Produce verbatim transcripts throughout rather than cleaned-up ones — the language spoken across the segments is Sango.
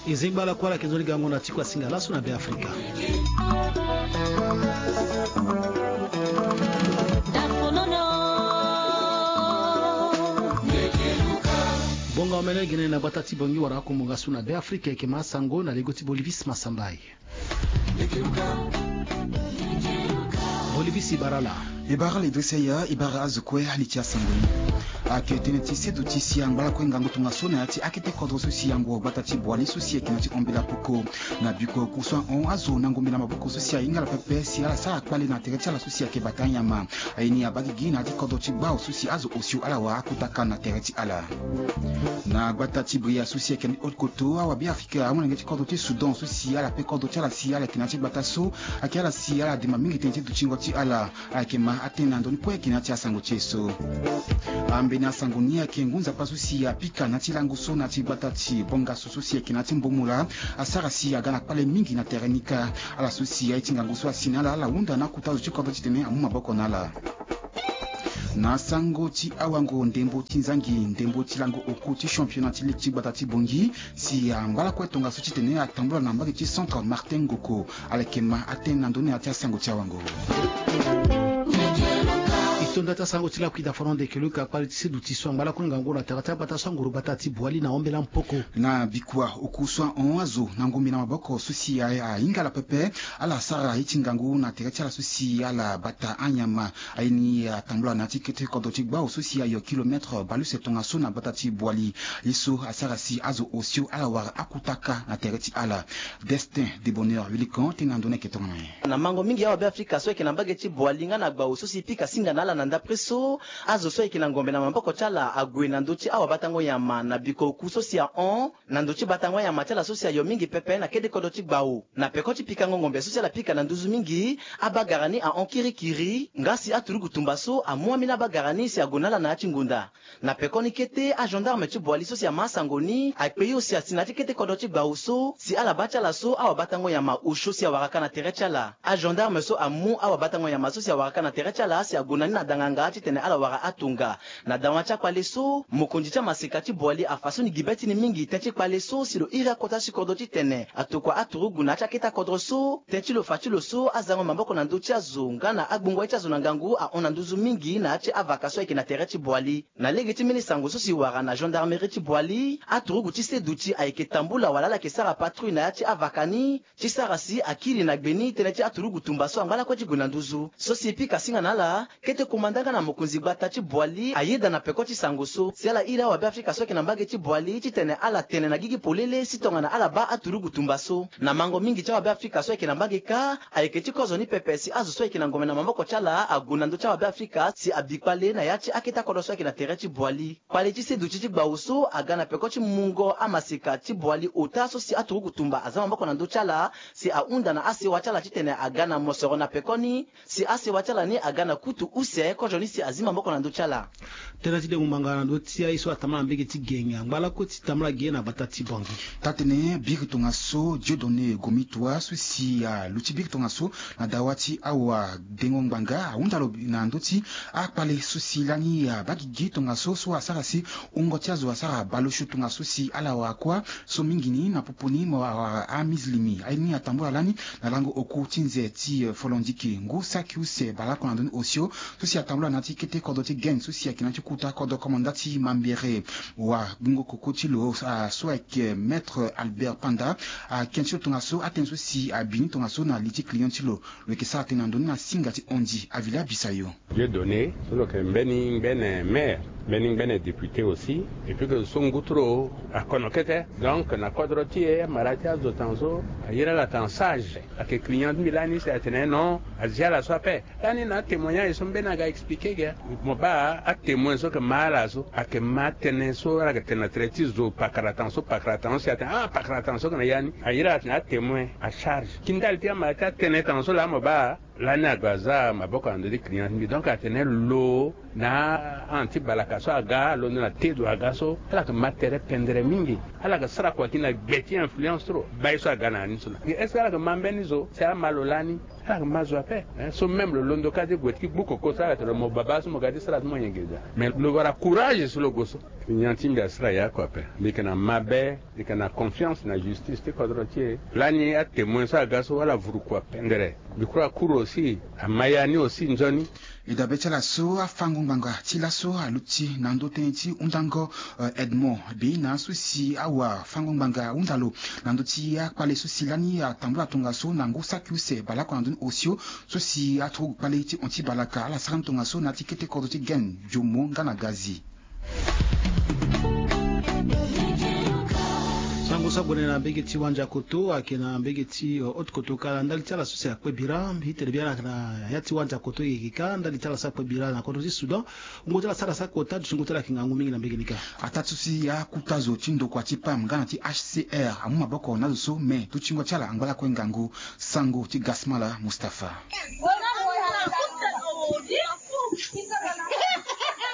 E zengba ala kue ala yeke nzoni gango na tiko asinga laso na Be Afrika. Bonga omene gene na gbata ti Bongi wala akumbu nga so na Be Afrika, e yeke ma asango na lego ti Bolivis Masambai. Bolivis, e bara ala. E bara ala Idrissa Yaya, e bara azo kue ali ti asango ni. Ayeke tënë ti seduti si angba lakue ngangu tongaso na ya ti akete kodro so si ango gbata ti Boali so si ayeke na ti ombela poko. Na biko oku so ahon azo na ngombe na maboko so si ahinga ala pepe si ala sara kpale na tere ti ala so si ayeke bata anyama. Aye ni abaa gigi na ya ti kodro ti gbao so si azo osio ala wara akutaka na tere ti ala. Na gbata ti Bria so si ayeke na ti haute koto, awabe Afrika amolenge ti kodro ti Soudan so si ala pe kodro ti ala si ala yeke na ya ti gbata so, ayeke ala si ala demba mingi tënë ti dutingo ti ala. Ayeke ma atene na ndoni kue ayeke na ya ti asango ti e so. Ambeni asango ni ayeke ngu nzapa so si apika na ya ti lango so na ya ti gbata ti Bongaso so si ayeke na ya ti Mbomola, asara si aga na kpale mingi na tere ni kâ. Ala so si aye ti ngangu so asi na ala, ala hunda na akota zo ti kodro titene amu maboko na ala. Na sango ti awango ndembo ti nzangi, ndembo ti lango oku ti championnat ti ligue ti gbata ti Bongi, si angba lakue tongaso titene atambula na mbage ti Centre Martin Ngoko. Ala yeke ma atene na ndoni na ya ti asango ti awango. E to nda ti asango ti lakui dafono ndeke luka kpale ti seduti so angba lakue ngangu na tere ti agbata so anguru gbata ti Boali na ombela mpoko. Na bikua oku so ahon azo na ngombe na maboko so si a- ahinga ala pepe, ala sara ye ti ngangu na tere ti ala so si ala bata anyama. Aye ni atambula na ya ti kete kodro ti gbao so si ayo kilomètre baleuse tongaso na gbata ti Boali. Ye so asara si azo osio ala wara akutaka na tere ti ala. Destin de Bonheur Wilikan tene na ndoni ayeke tongana nyen. Na mango mingi awabe Afrika so ayeke na mbage ti Boali nga na gbao so si pika singa na ala na ndapre so, azo so ayeke na ngombe na maboko ti ala ague na ndö ti awabatango nyama na biko oku so si ahon, na ndö ti batango anyama ti ala so si ayo mingi pepe na kete kodro ti gbao. Na peko ti pikango ngombe so si ala pika na nduzu mingi, abagara ni ahon kirikiri, nga si aturugu tumba so amu ambeni abagara ni si ague na ala na ya ti ngonda. Na pekoni kete, agendarme ti Boali so si ama asango ni akpe yo si asi na ya ti kete kodro ti gbao so, si ala baa ti ala so awabatango nyama osio si awara ka na tere ti ala. Agendarme so amu awabatango nyama so si awara ka na tere ti ala si ague na ni na danganga titene ala wara atonga. Na dawa ti akpale so, mokonzi ti amaseka ti Boali afa so ni gi be ti ni mingi tënë ti kpale so si lo iri akota ti kodro titene atokua aturugu na ya ti akete akodro so, tënë ti lo fa ti lo so azango maboko na ndö ti azo nga na agbongo ye ti azo na ngangu ahon na nduzu mingi na ya ti avaka so ayeke na tere ti Boali. Na lege ti mbeni sango so si wara na gendarmerie ti Boali, aturugu ti seduti ayeke tambula wala ala yeke sara patrouille na ya ti avaka ni, ti sara si akiri na gbe ni tënë ti aturugu tumba so angba lakue ti gue na nduzu. So si e pika singa na ala, kete komanda nga na mokonzi gbata ti Boali ayeda na peko ti sango so si ala iri awabe Afrika so ayeke na mbage ti Boali titene ala tene na gigi polele si tongana ala baa aturugu tumba so. Na mango mingi ti awabe Afrika so ayeke na mbage kâ, ayeke ti kozo ni pepe si azo so ayeke na ngombe na maboko ti ala ague na ndö ti awabe Afrika si abi kpale na ya ti akete akodro so ayeke na tere ti Boali. Kpale ti seduti ti gbao so aga na peko ti mungo amaseka ti Boali ota so si aturugu tumba aza maboko na ndö ti ala si ahunda na asewa ti ala titene aga na mosoro na pekoni, si asewa ti ala ni aga na kutu use kozoni si azi maboko na ndö ti ala. Tënë ti dengo ngbanga na ndö ti aye so atambula na mbage ti Genge angba lakue ti tambula ge na gbata ti Bongi. Taa tene biri tongaso Dieudonné Gomitua so si aluti biri tongaso na dawa ti awa dengo ngbanga ahunda lo na ndö ti akpale so si lani abaa gigi tongaso so asara si wungo ti azo asara bale osio tongaso si ala wara kuâ. So mingi ni na popo ni mo wara amizilimi aye ni atambula lani na lango oku ti nze ti, eh, folondiki ngu saki use baleoko na ndö ni osio so si atambula na ya ti kete kodro ti Genge so si ayeke na ya ti kota kodro komanda ti Mambere. Wa gbungo koko ti lo, ah, so ayeke Maître Albert Panda, ah, ake ti lo tongaso atënë so si abi ni tongaso na li ti client ti lo. Lo yeke sara tënë na ndö ni na singa ti Ondi Avila Bisayo. Dieudonné so lo yeke mbeni ngbene maire, mbeni ngbene député aussi, et puis que so ngu ti lo akono kete. Donc na kodro ti e amara ti azo tongaso aye na ala tongana sage. Ayeke client ti mbi lani si atene non, azia ala so ape. Lani na atémoignage so mbeni aga expliqué ge. Mo baa atémoin so yeke ma ala so ayeke ma atënë so ala yeke tene na tere ti zo pakara tongaso, pakara tongaso si atene ah pakara tongaso yeke na ya ni. Aye na ala tene atémoin à charge. Ki ndali ti amara ti atënë tongaso laa mo baa Lani ague aza maboko na ndö ti client ti mbi, donc atene lo na an ti balaka so aga alondo na te zo aga so ala yeke ma tere pendere mingi. Ala yeke sara kua gi na gbe ti influence trop. Bai so aga na ya ni so na est ce que ala yeke ma mbeni zo si ama lo lani? Ala yeke ma zo ape. So même lo londo ka ti gue ti gbu koko so ala tene lo mo babâ so mo ga ti sara so mo yenge za. Mais lo wara courage so lo gue so. Nyan ti mbi asara ya kua ape. Mbi yeke na mabe. Mbi yeke na confiance na justice ti kodro ti e. Lani atemoin so aga so ala vuru kua pendere. Mbi kura akuru aussi ama ya ni aussi nzoni. E dabe ti ala so afango ngbanga ti laso aluti na ndö tënë ti hundango Edmond Beina so si awafango ngbanga hunda lo na ndö ti akpale so si lani atambula tongaso na ngu saki use baleoko na ndö ni osio so si aturugu kpale ti hon ti balaka ala sara ni tongaso na ya ti kete kodro ti Gene, Jomo nga na Gazi. Sango so ague na mbege ti Wandiakoto ayeke na mbege ti Haute-Koto kala ndali ti ala so si akpe bira mbi tene bia na ya ti Wandiakoto e yeke ka ndali ti ala so akpe bira na kodro ti Soudan. Wungo ti ala sara saki ota duti wungo ti ala yeke ngangu mingi na mbege ni kâ. Ataa ti so si akuta zo ti ndokua ti pam nga na ti H C R amu maboko na azo so me dutingo ti ala angba lakue ngangu. Sango ti Gasmala Mustapha.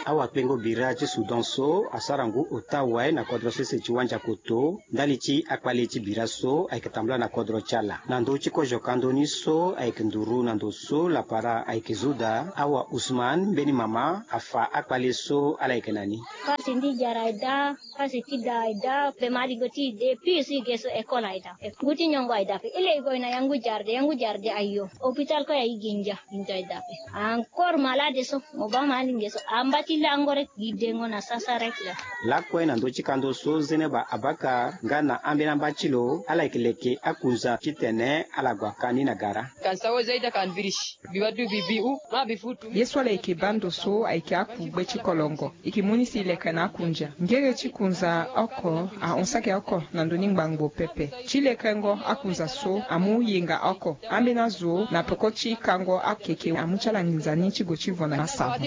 Awakpengo bira ti Soudan so asara ngu ota wai na kodro sese ti Wandiakoto ndali ti akpale ti bira so ayeke tambula na kodro ti ala. Na ndö ti kozo ka ndö ni so ayeke nduru na ndo so lapara ayeke zo daa, awa Ousmane mbeni mama afa akpale so ala yeke na ni. Pasi ndi jara daa. Pasi ti da e daa pe ma lingo ti e de pire so e ge so école aye daa pe. Ngu ti nyongo aye daa pe. E leke e gue na yangu jarde yangu jarde ayo. Hôpital kue aye gi ndia. Ndia aye daa pe. Encore malade so mo baa ma alinge so amba ti lango rek gi dengo na sasa rek la. Lakue na ndö ti kando so Zeneba Abakar nga na ambeni amba ti lo ala yeke leke akunza titene ala gue aka ni na gara. Kan sawa zaida kan birish. Bi wadu bi bi u ma bi futu. Ye so ala yeke baa ndo so ayeke akugbe ti kolongo. E yeke mu ni si e leke na akunja ngere ti kunza oko ahon saki oko na ndö ni ngbangbo pepe. Ti lekengo akunza so amu yenga oko ambeni azo na peko ti kango akeke amu ti ala nginza ni ti gue ti vo na asara.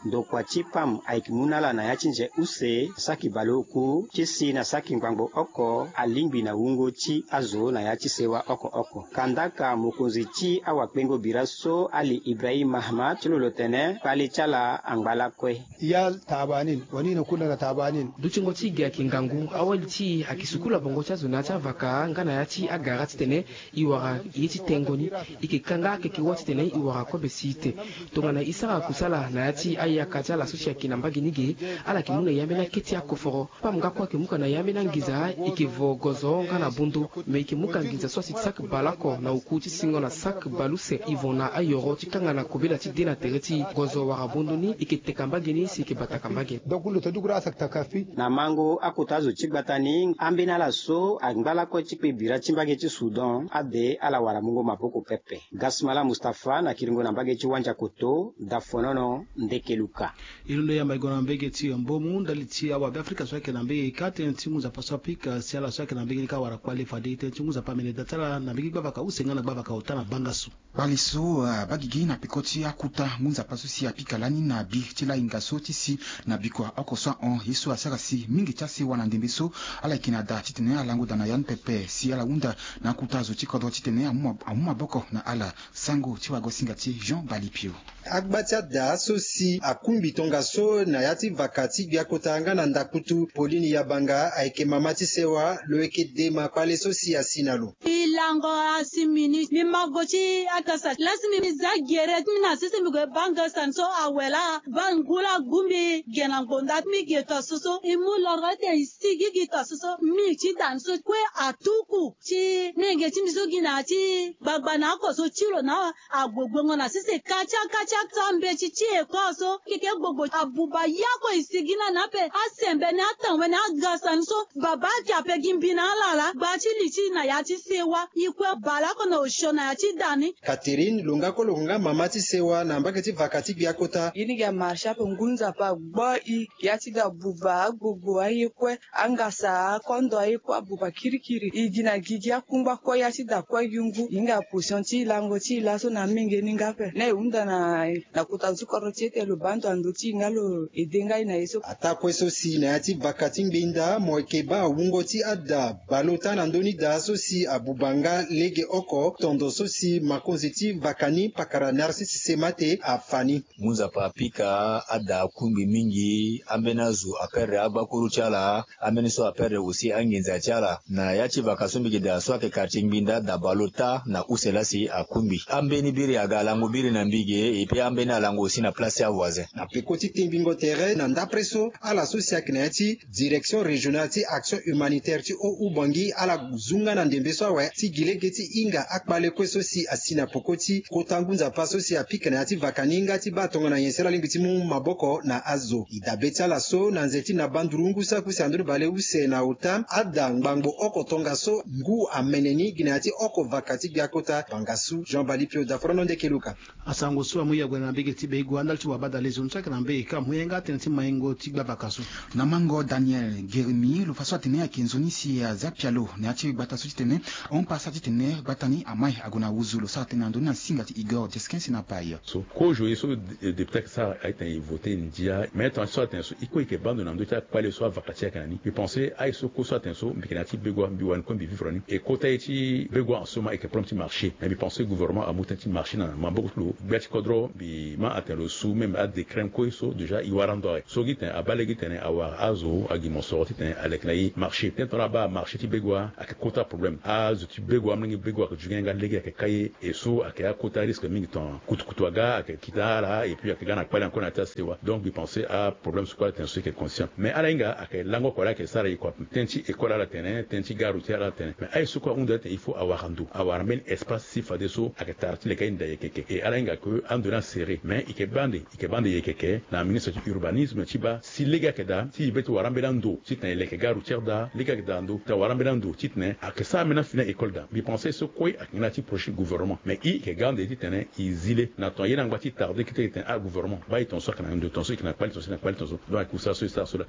Ndokua ti pam ayeke mu na ala na ya ti nze use saki baleoku ti si na saki ngbangbo oko alingbi na wungo ti azo na ya ti sewa oko oko. Kandaka mokonzi ti awakpengo bira so Ali Ibrahim Mahama ti lo lo tene kpale ti ala angba lakue. Ya tabanin wani na kunda na tabanin. Dutingo ti e gi ayeke ngangu. Awali ti e ayeke sukulu abongo ti azo na ya ti avaka nga na ya ti agara titene e wara ye ti tengo ni. E yeke kanga akeke wâ titene e wara kobe si ete. Tongana e sara kusala na ya ti ayaka ti ala so si ayeke na mbage ni ge, ala yeke mu na e ambeni akete akoforo. Pam nga kue ayeke mu ka na e ambeni anginza e yeke vo gozo nga na bondo. Me e yeke mu ka nginza so asi ti saki baleoko na oku ti singo na saki baleuse e vo na ayoro ti kanga na kobela ti de na tere ti e. Gozo wala bondo ni e yeke teka mbage ni si e yeke bataka mbage. Donc lo ta dugu ra asaki taka fi. Na mango akota azo ti gbata ni ambeni ala so angba lakue ti kpe bira ti mbage ti Soudan ade ala wara mungo maboko pepe. Gasmala Mustapha na kiringo na mbage ti Wandiakoto, Dafonono, Ndekeluka. E londo yamba e gue na mbege ti Mbomu ndali ti awabe Afrika so ayeke na mbege ka tënë ti ngu nzapa so apika si ala so ayeke na mbege ni ka wara kpale fade tënë ti ngu nzapa amene da ti ala na mbege gbavaka use nga na gbavaka ota na banga so. Kpale so abaa gigi na peko ti akuta ngu nzapa so si apika lani na bi ti lahinga so ti si na bikua oko so ahon ye so asara si mingi ti asewa na ndembe so ala yeke na da titene alango da na ya ni pepe si ala hunda na akuta zo ti kodro titene amu maboko na ala. Sango ti wagosinga ti Jean Balipio. Agba ti ada so si akungbi tongaso na ya ti vaka ti gbia kota nga na ndakutu Pauline Yabanga ayeke mama ti sewa lo yeke dema kpale so si asi na lo. E lango asi mini mbi ma go ti akasa lasi mbi za gere ti mbi na sese mbi gue baa ngesan so awe laa baa ngu laa gu mbi ge na ngbonda ti mbi ge to so so e mu loro ete e sigi gi to so so mbi ti da ni so kue atuku ti nenge ti mbi so gi na ya ti gbagba na oko so ti lo na agbogbengo na sese katia katia so mbeti ti eko so keke gbogbo abuba ya kue e sigi na ni ape asembe ni atanwe ni agasa ni so baba ake ape gi mbi na ala laa gba ti li ti na ya ti sewa e kue baleoko na osio na ya ti da ni. Catherine lo nga kue lo yeke nga mama ti sewa na mbage ti vaka ti gbia kota. Ye ni gi amarche ape ngu nzapa agbo i ya ti da buba agbogbo aye kue angasa akondo aye kue abuba kirikiri e gi na gigi akungba kue ya ti da kue gi ngu e hinga position ti lango ti e laso na amenge ni nga ape na e hunda na kota zo ti kodro ti e ete lo baa ndo na ndö ti e nga lo ede nga e na ye so. Ataa kue so si na ya ti vaka ti ngbenda mo yeke baa wungo ti ada baleota na ndö ni daa so si abuba Nga lege oko tondo so si makonzi ti vaka ni pakara Narcisse Semate afa ni. Ngu nzapa apika ada akungbi mingi, ambeni azo aperdre agbakuru ti ala, ambeni so aperdre aussi anginza ti ala. Na ya ti vaka so mbi yeke daa so ayeke quartier Ngbinda, Dabalo, Taa na use laa si akungbi. Ambeni biri aga lango biri na mbi ge, et puis ambeni alango aussi na place ti avoisin. Na peko ti tengbingo tere na ndapre so, ala so si ayeke na ya ti direction régionale ti action humanitaire ti Haut-Oubangui, ala zu nga na ndembe so awe ti gi lege ti hinga akpale kue so si asi na peko ti kota ngu nzapa so si apika na ya ti vaka ni nga ti baa tongana nyen si ala lingbi ti mu maboko na azo. E dabe ti ala so na nze ti na bandurungu so akui si andoni bale use na ota, ada ngbangbo oko tongaso ngu amene ni gi na ya ti oko vaka ti gbia kota bangasu. Jean Bali Pio, Daforono Ndeke Luka. Asango so amu yague na mbege ti Begua ndali ti wabada lezo ni so ayeke na mbege ka amu ye nga tënë ti maingo ti gbavaka so. Na mango Daniel Geremi, lo fa so atene ayeke nzoni si aza pialo na ya ti gbata so titene ahon pasa titene gbata ni amai ague na wuzu. Lo sara tënë na ndoni na singa ti Igor Jeskin si na pai. So kozo ye so de- député ayeke sara ayeke tene e vote ndia, mais tongana so atene so e kue e yeke baa ndo na ndö ti akpale so avaka ti e ayeke na ni. Mbi pense aye so kue so atene so mbi yeke na ya ti Begua, mbi wani kue mbi vivre ni. E kota ye ti Begua en ce moment ayeke problème ti marché, mais mbi pense gouvernement amu tënë ti marché na maboko ti lo. Gbia ti kodro mbi ma atene lo su même adécret kue so déjà e wara ndo awe. So gi tene abaa lege titene awara azo agi mosoro titene aleke na e marché. Tënë tongana abaa marché ti Begua ayeke kota problème. Azo ti Begua, amolenge Begua ayeke ju ge nga lege ayeke kai e so ayeke akota risque mingi tongana kutukutu aga ayeke kita ala et puis ayeke ga na kpale encore na ya ti asewa. Donc mbi pense aproblème so kue ala tene so e yeke conscient. Mais ala hinga ayeke lango oko laa ayeke sara e kua. Tënë ti école ala tene, tënë ti gare routière ala tene. Mais aye so kue ahunda titene il faut awara ndo, awara mbeni espace si fadeso ayeke tara ti leke aye nda yekeke. Et ala hinga que ando ni aserré, mais e yeke baa nde, e yeke baa nde yekeke na ministre ti urbanisme ti baa si lege ayeke daa ti e be ti wara ambeni ando titene e leke gare routière daa, lege ayeke daa ndo titene awara ambeni ando titene ayeke sara ambeni afini a-école daa. Mbi pense so kue ayeke nga na ya ti projet ti gouvernement, mais e yeke ga ande titene e zi le na tongana ye ni angba ti tarde kete titene agouvernement baa e tongaso ayeke na ndo, tongaso e yeke na kpale, tongaso e yeke na kpale, tongaso. Donc ayeke kusala so e sara so laa.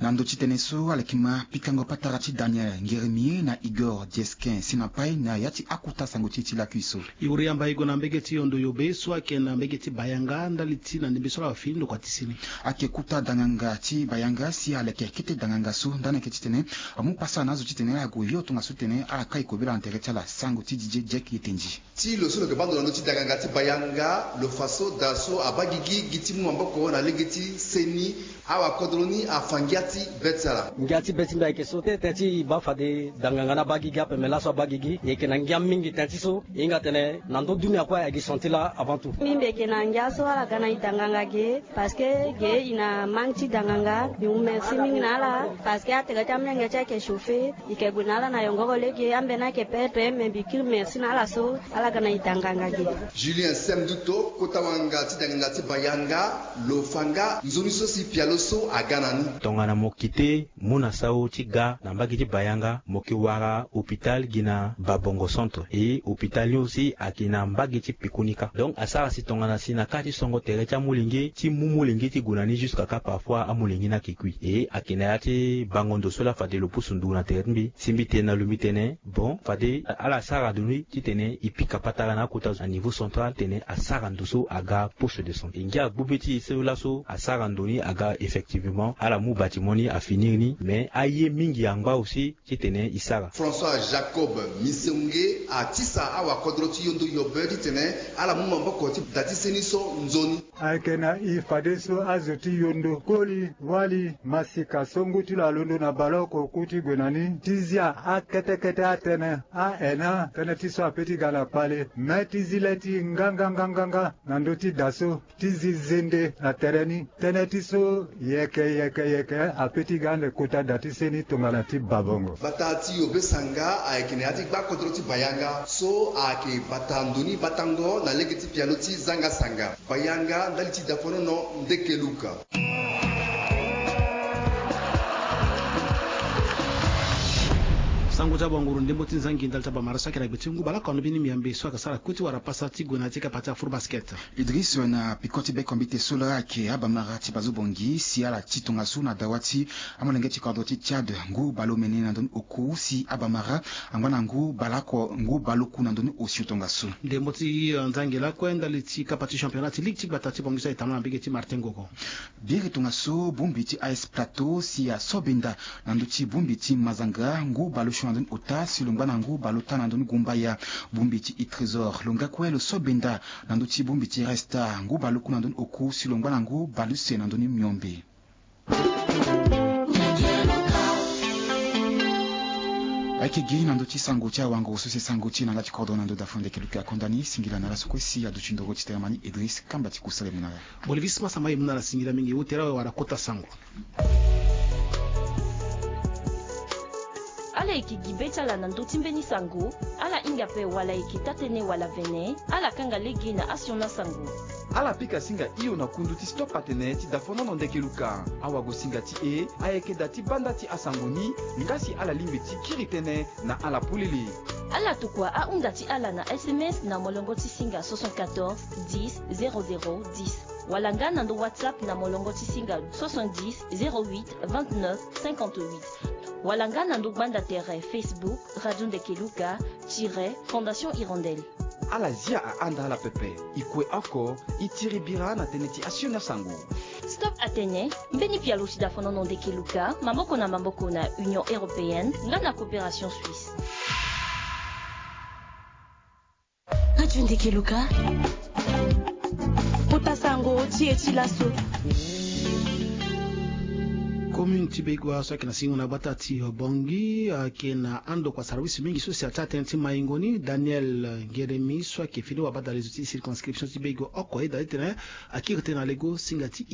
Na ndö ti tënë so ala yeke ma pikango patara ti Daniel Ngeremi na Igor Jeskin si na pai na ya ti akota sango ti e ti lakui so. E wuri yamba e gue na mbege ti Yondo Yobe so ayeke na mbege ti Bayanga ndali ti na ndembe so ala fini ndokua ti sini. Ayeke kota danganga ti Bayanga si aleke kete danganga so ndani ayeke titene amu pasa na azo titene ague hio tongaso titene ala kai kobela na tere ti ala. Sango ti Didier Diek Yetendi. Ti lo so lo yeke baa ndo na ndö ti danganga ti Bayanga, lo fa so daa so abaa gigi gi ti mu maboko na lege ti seni. Awakodro ni afa ngia ti be ti ala. Ngia ti be ti mbi ayeke so te tënë ti e baa fade danganga ni abaa gigi ape, me laso abaa gigi e yeke na ngia mingi tënë ti so e hinga tene na ndö dunia kue ayeke gi senti laa avant tout. Mbi mbi yeke na ngia so ala ga na e danganga ge, parce que ge e na manque ti danganga. Mbi mu merci mingi na ala parce que atere ti amolenge ti e ayeke chauffer. E yeke gue na ala na yongoro lege, ambeni ayeke perdre, me mbi kiri merci na ala so ala ga na e danganga ge. Julien Sem Duto, kota wanga ti danganga ti Bayanga, lo fa nga nzoni so si pialo so aga na ni. Tongana mo kite mu na sau ti ga na mbage ti Bayanga, mo yeke wara hôpital gi na Babongo Centre. E hôpital ni aussi ayeke na mbage ti peko ni kâ. Donc asara si tongana si na kâ ti songo tere ti amolenge ti mu molenge ti gue na ni jusqu'à kâ parfois amolenge ni ayeke kui. E ayeke na ya ti bango ndo so laa fade lo pusu ndugu na tere ti mbi si mbi tene na lo mbi tene bon, fade ala sara ndo ni titene e pika patara na akota zo na niveau central titene asara ndo so aga poste de santé. E ngia gbu be ti e so laso asara ndo ni aga effectivement, ala mu bâtiment ni afinir ni, mais aye mingi angba aussi titene e sara. François Jacob Miseunge atisa awakodro ti Yondo Yobe titene ala mu maboko ti da ti seni so nzoni. Ayeke na e fadeso azo ti Yondo, koli, wali, masika so ngu ti lo alondo na baleoko ku ti gue na ni ti zia akete kete atënë, aena tënë ti so ape ti ga na kpale, me ti zi le ti nganganganganga na ndö ti da so ti zi zende na tere ni. Tënë ti so yeke yeke yeke ape ti ga ande kota da ti seni tongana ti Babongo. Bata ti Yobe sanga ayeke na ya ti gbakodro ti Bayanga so ayeke bata ndo ni batango na lege ti pialo ti zanga sanga. Bayanga ndali ti Dafonono Ndeke Luka. Sango ti abanguru ndembo ti nzangi ndali ti abamara so ayeke na gbe ti ngu baleoko alobi ni miambe so ayeke sara kue ti wara pasa ti gue na ya ti kapa ti afuru basket. Idriss na peko ti bekombite so laa ayeke abamara ti bazo bongi si ala ti tongaso na dawa ti amolenge ti kodro ti Tchad ngu baleomene na ndoni oku si abamara angba na ngu baleoko ngu baleoku na ndoni osio tongaso. Ndembo ti eh, nzangi lakue ndali ti kapa ti championnat ti ligue ti gbata ti bongi so ayeke tambula na mbege ti Martin Gogo. Biri tongaso bongbi ti A S Plateau si aso benda na ndö ti bongbi ti Mazanga ngu baleosio na Ota si lo ngba na ngu bale ota na ndö ni gumbaya. Bongbi ti e-trésor lo nga kue lo so benda na ndö ti bongbi ti resta ngu bale oku na ndö ni oku si lo ngba na ngu bale use na ndö ni miombe. Ayeke gi na ndö ti sango ti awango so si sango ti e na nga ti kodro na ndö dafo ndeke luka akonda ni singila na ala so kue si aduti ndoro ti tene ma ni Idris kamba ti kusala e mu na ala. Bolivis masamba e mu na ala singila mingi ute ala wara kota sango. Ala yeke gi be ti ala na ndö ti mbeni sango. Ala hinga ape wala ayeke taa-tënë wala vene ala kanga lege na asiona sango. Ala pika singa hio na kundu ti stop atene ti dafonono ndeke luka. Awago singa ti e ayeke da ti banda ti asango ni. Nga si ala lingbi ti kiri tënë na ala polele. Ala tokua ahunda ti ala na sms na molongo ti singa soixante-quatorze dix zéro zéro dix, wala nga na ndo whatsapp na molongo ti singa soixante-dix zéro huit vingt-neuf cinquante-huit, wala nga na ndo gbanda tere facebook radio ndeke luka tire fondation hirondelle. Ala zia ahanda ala pepe. E kue oko e tiri bira na tënë ti asioni asango. Stop atene mbeni pialo ti dafonono ndeke luka maboko na maboko na union européenne nga na coopération suisse. Radio ndeke luka. Kota sango ti e ti laso. Commune ti Begoua so ayeke na singo na gbata ti Bongi ayeke na andokua service mingi so si atia tënë ti maingo ni Daniel Ngeremi so ayeke fini wabadale zo ti circonscription ti Begoua oko ayeda titene akiri tënë na lego singa ti